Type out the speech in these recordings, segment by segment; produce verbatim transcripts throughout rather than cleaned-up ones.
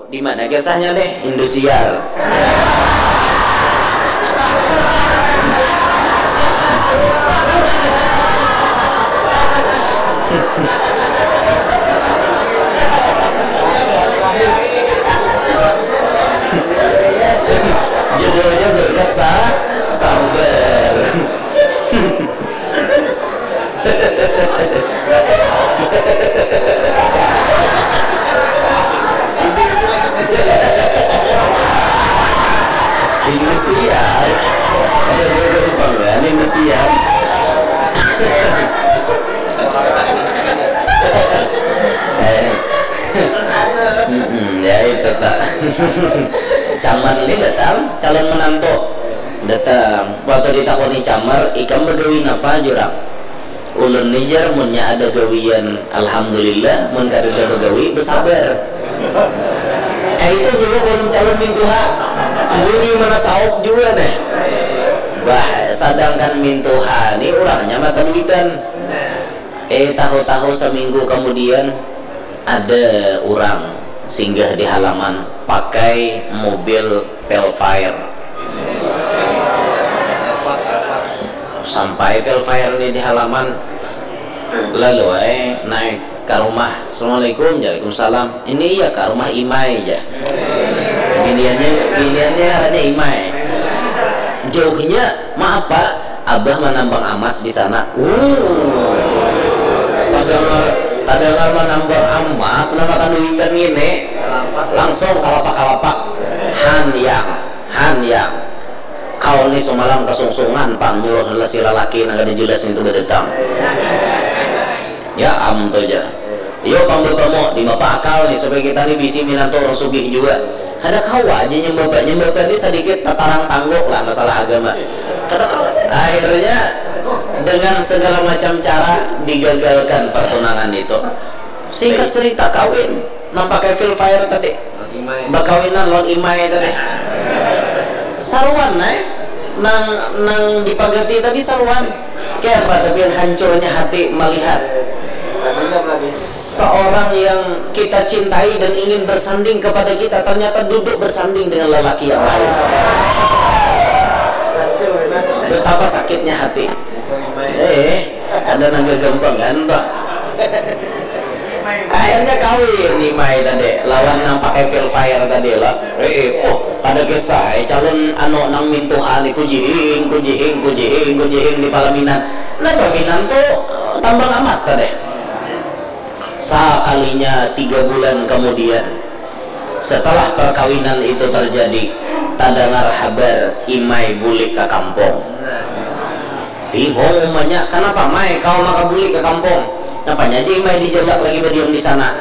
Di mana kisahnya nih? Indosiar. Judulnya berkat sa sabar. Ini siap. Ada gampang kan ini siap. Eh. Mm-mm, ya itu tak. Caman ini datang calon menantu. Datang. Waktu ditakoni camar, ikam begawi napa jurang? Ulun ni jar, munnya ada gawian alhamdulillah, mun kadada bagawi besabar. Kaitu jua mun calon mintuha, bunyi mana saup jua nih. Bah, sadangkan mintuha ni urangnya mata duitan. Eh, tahu-tahu saminggu kamudian ada urang singgah di halaman pakai mobil Velfire. Sampai Velfire ni di halaman, lalu ai naik ka rumah. "Assalamualaikum." "Waalaikumsalam." "Ini iya ka rumah Imai," jar. Biniannya, biniannya ngarannya Imai. Jauhnya, "Maaf, Pak, Abah manambang amas di sana." Wuh. Tadangar, tadangar manambang amas, nama kaduitan ngini. Langsung kalapak-kalapak. Han yang, han yang. Kau ni sumalam kasungsungan pang nyuruh lasi lalaki nang kada jelas nitu badatang. Ya am tu jar. Yo pang bapamu, dimapa akal ni supaya kita ni bisi minantu urang sugih jua. Kada kawa aja nyambapa, nyambapa ni sadikit tatarang tangguk lah masalah agama. Kada kawa. Akhirnya dengan segala macam cara digagalkan pertunangan itu. Singkat cerita kawin, nang pakai Velfire tadi. Bakawinan lawan Imai tadi. Saruan ai. Nang, nang dipagati tadi saruan. Kayapa tapi hancurnya hati melihat seorang yang kita cintai dan ingin bersanding kepada kita, ternyata duduk bersanding dengan lelaki yang lain. Betapa sakitnya hati. Eh, ada nang gagampangan tuh. Akhirnya kawin Imai tadi lawan nang pakai Velfire tadi lah. Eh, eh, oh, kada kisah, eh, calon anu nang mintuha ni kujihing, kujihing, kujihing, kujihing di palaminan. Nah, baminan tuh tambang amas tadi. Sakalinya tiga bulan kemudian, setelah perkawinan itu terjadi, tadangar habar Imai bulik ka kampung. Bingung umanya, "Kanapa, Mai, kawa maka bulik ka kampung? Napanya ja Imai dijalak lagi badiam di sana?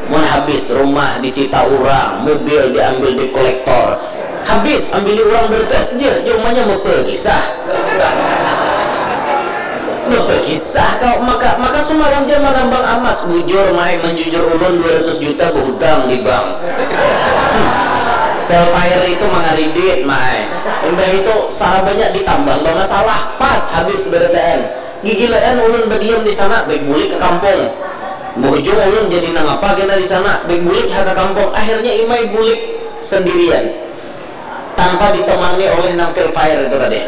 Mun habis rumah disita urang, mobil diambil debt collector. Habis ambili urang berarti." Jar, jar umanya, "Bapakisah. Bapakisah kau, maka, maka sumalam ja manambang amas." "Bujur, Mai, manjujur ulun dua ratus juta bahutang di bank. Velfire itu mangaridit, Mai. Imbah itu, sarabanya ditambang bamasalah, pas habis barataan. Gigilaan ulun badiam di sana, baik bulik ka kampung. Bahujung ulun jadi nangapa kena di sana, baik bulik ha ka kampung." Akhirnya Imai bulik sendirian, tanpa ditemani oleh nang Velfire itu tadi.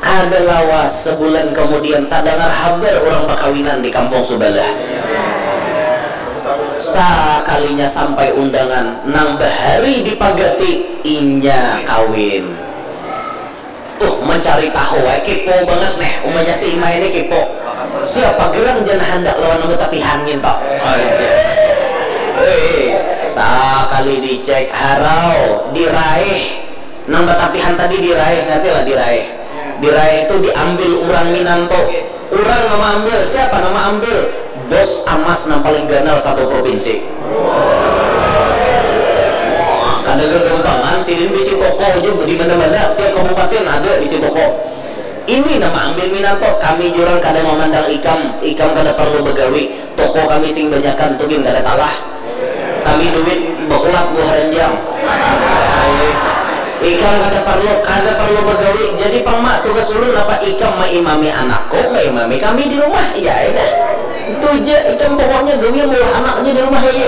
Kada lawas, sebulan kemudian, tadangar habar urang bakawinan di kampung subalah. Sakalinya sampai undangan, nang bahari dipagati, inya kawin. Uh, mencari tahu ai, kepo banget neh. Umanya si Imai ni kepo. Siapa gerang jan handak lawan nang batapihan nginto. Aja. Weh, sakali dicek, harau, diraih. Nang batapihan tadi diraih, ngerti lah diraih. Diraih itu diambil urang minantu. Urang nang maambil, siapa nang maambil? Bos amas nang paling ganal satu provinsi. Wah, kada gagampangan, sidin bisi toko ja di mana-mana, tiap kabupaten ada bisi toko. Ini nang maambil minantu, kami jurang kada mamandang ikam, ikam kada parlu bagawi, toko kami sing banyakan tu gin kada talah. Kami duit bakulat buah ranjang. Ikam kada parlu, kada parlu bagawi. Jadi pang, Ma, tugas ulun napa? Ikam maimami anakku, maimami kami di rumah. Iya ai dah. Itu ja, ikam pokoknya gawi maulah anak ja di rumah lagi.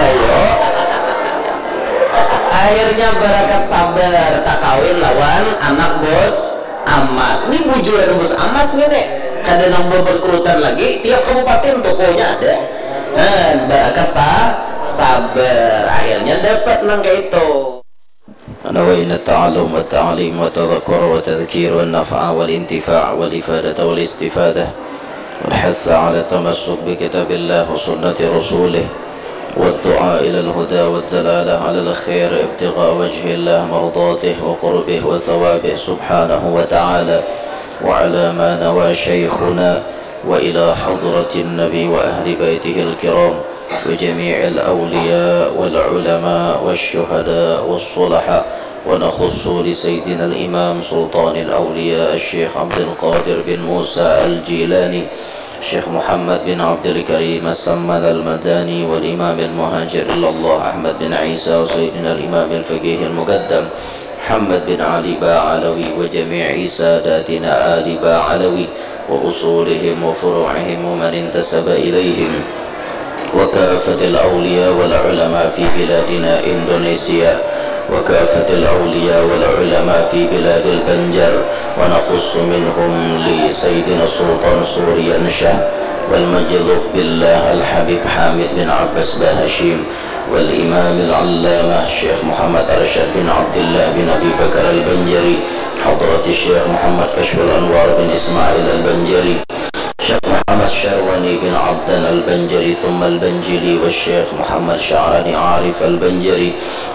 Ayo. Akhirnya barakat sabar, takawin lawan anak bos Amas. Ini bujuran bos Amas nih, kada nang berkerutan lagi, tiap kabupaten tokonya ada. Nah, barakat sa sabar, akhirnya dapat nang kayak itu. نوينا التعلم والتعليم والتذكر والتذكير والنفع والانتفاع والإفادة والاستفادة والحث على التمسك بكتاب الله وسنة رسوله والدعاء إلى الهدى والدلالة على الخير ابتغاء وجه الله مرضاته وقربه وثوابه سبحانه وتعالى وعلى ما نوى شيخنا وإلى حضرة النبي وأهل بيته الكرام وجميع الأولياء والعلماء والشهداء والصلحاء ونخص لسيدنا الإمام سلطان الأولياء الشيخ عبد القادر بن موسى الجيلاني الشيخ محمد بن عبد الكريم السمد المداني والإمام المهاجر إلى الله أحمد بن عيسى وسيدنا الإمام الفقيه المقدم محمد بن علي باعلوي وجميع ساداتنا آل باعلوي وأصولهم وفروعهم ومن انتسب إليهم وكافة الأولياء والعلماء في بلادنا إندونيسيا وكافة الأولياء والعلماء في بلاد البنجر ونخص منهم لسيدنا السلطان سوريان شاه والمجذوب بالله الحبيب حامد بن عباس بهشيم والإمام العلامة الشيخ محمد أرشد بن عبد الله بن أبي بكر البنجري حضرة الشيخ محمد كشف الأنوار بن إسماعيل البنجري الشيخ محمد شرواني بن عبدان البنجري ثم البنجلي والشيخ محمد شعراني عارف البنجري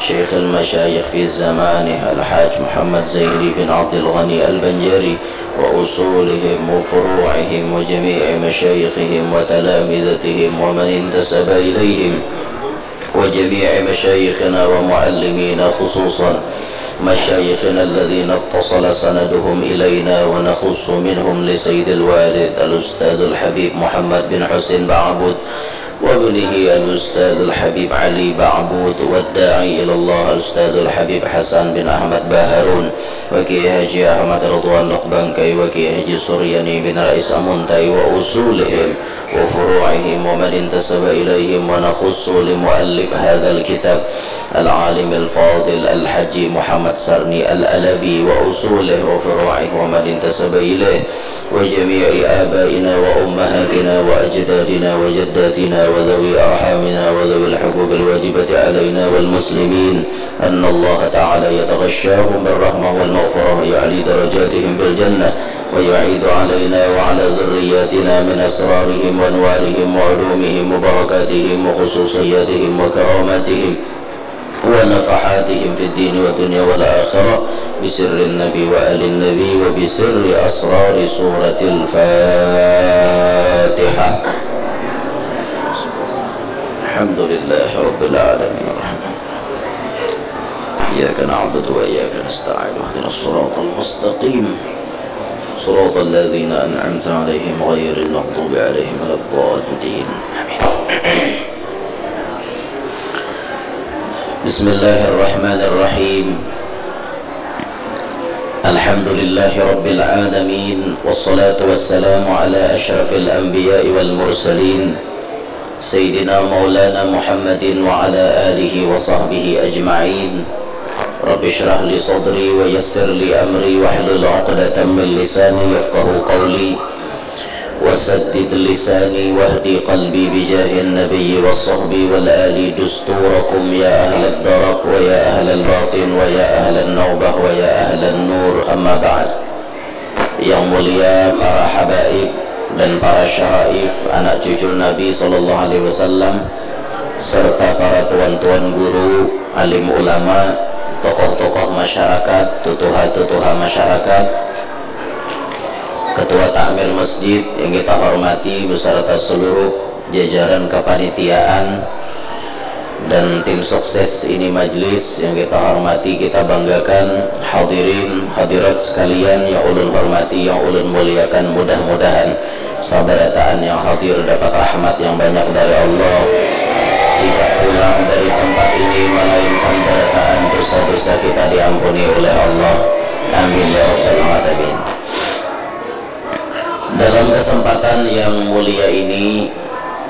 شيخ المشايخ في زمانه الحاج محمد زيني بن عبد الغني البنجري وأصولهم وفروعهم وجميع مشايخهم وتلامذتهم ومن انتسب إليهم وجميع مشايخنا ومعلمينا خصوصا مشايخنا الذين اتصل سندهم إلينا ونخص منهم لسيد الوالد الأستاذ الحبيب محمد بن حسين بعبود وابنه الأستاذ الحبيب علي بعبود والداعي إلى الله الأستاذ الحبيب حسن بن أحمد بهارون وكي حاجي أحمد رضوان لقبانكي وكي حاجي سرياني بن رئيس أمونتاي وأصولهم وفروعهم ومن انتسب إليهم ونخص لمؤلف هذا الكتاب العالم الفاضل الحجي محمد سرني الألبي وأصوله وفروعه ومن انتسب إليه وجميع آبائنا وأمهاتنا وأجدادنا وجداتنا وذوي أرحامنا وذوي الحقوق الواجبة علينا والمسلمين أن الله تعالى يتغشاهم بالرحمة والمغفرة ويعلي درجاتهم بالجنة ويعيد علينا وعلى ذرياتنا من أسرارهم وأنوارهم وعلومهم وبركاتهم وخصوصياتهم وكراماتهم ونفحاتهم في الدين والدنيا والآخرة بسر النبي وآل النبي وبسر أسرار سورة الفاتحة. الحمد لله رب العالمين الرحمن الرحيم إياك نعبد وإياك نستعين اهدنا الصراط المستقيم صراط الذين أنعمت عليهم غير المغضوب عليهم ولا الضالين آمين بسم الله الرحمن الرحيم الحمد لله رب العالمين والصلاة والسلام على أشرف الأنبياء والمرسلين سيدنا مولانا محمد وعلى آله وصحبه أجمعين رب اشرح لي صدري ويسر لي أمري واحلل عقدة من لساني يفقه قولي وسدد لساني واهد قلبي بجاه النبي والصحب والآل دستوركم يا أهل الدرك ويا أهل الباطن ويا أهل النوبة ويا أهل النور أما بعد Yang mulia para habaib dan para syaraif anak cucu Nabi sallallahu alaihi wasallam serta para tuan-tuan guru, alim ulama, tokoh-tokoh masyarakat, tutuha-tutuha masyarakat, ketua takmir masjid yang kita hormati beserta seluruh jajaran kepanitiaan dan tim sukses ini majlis yang kita hormati, kita banggakan, hadirin hadirat sekalian yang ulun hormati, yang ulun muliakan, mudah-mudahan sabarataan yang hadir dapat rahmat yang banyak dari Allah, tidak pulang dari tempat ini melainkan barataan dosa-dosa kita diampuni oleh Allah. Amin ya rabbal alamin. Dalam kesempatan yang mulia ini,